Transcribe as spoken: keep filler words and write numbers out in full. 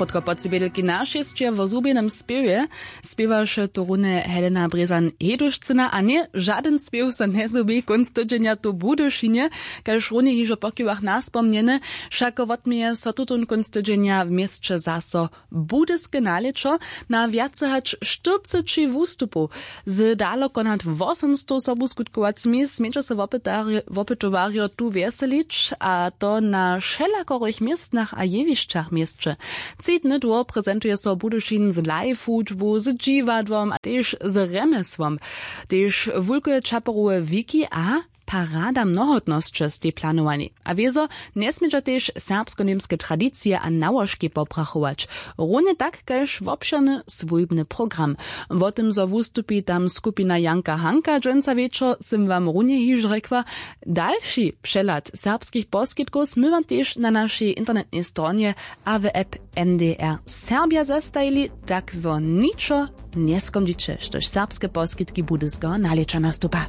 Krótko po tři bědelki na šěsće wo zhubjenym spěwje spěwaše tu runje Helena Brězan-Hedušcyna a ně žadyn spěw so njezhubi kónc tydźenja tu w Budyšinje. Kaž runje hižo pokiwach naspomnjene, wšako wotměje so tutón kónc tydźenja w měsće zaso budyske nalěćo. Na wjace hač štyrceći wustupow z daloko nad wosomstow sobuskutkowacymi směće so wopytowarjo tu wjeselić, a to na wšelakorych městnach a jewišćach w měsće. Tři dny dłho prezentuje so Budyšin z live hudźbu, z dźiwadłom a tež z rjemjesłom. Tež wulke čaperowe wiki a parada mnohotnosće stej planowani. A wězo njesmědźa tež serbsko-němske tradicije a nałožki poprachować, runje tak kaž wobšěrny swójbny program. Wo tym zo wustupi tam skupina Janka Hanka dźensa wječor, sym wam runje hižo rjekła. Dalši přehlad serbskich poskitkow smy wam tež na našej internetnej stronje a w app M D R Serbja zestajili, tak zo ničo njeskomdźiće, štož serbske poskitki budyskeho nalěća nastupa.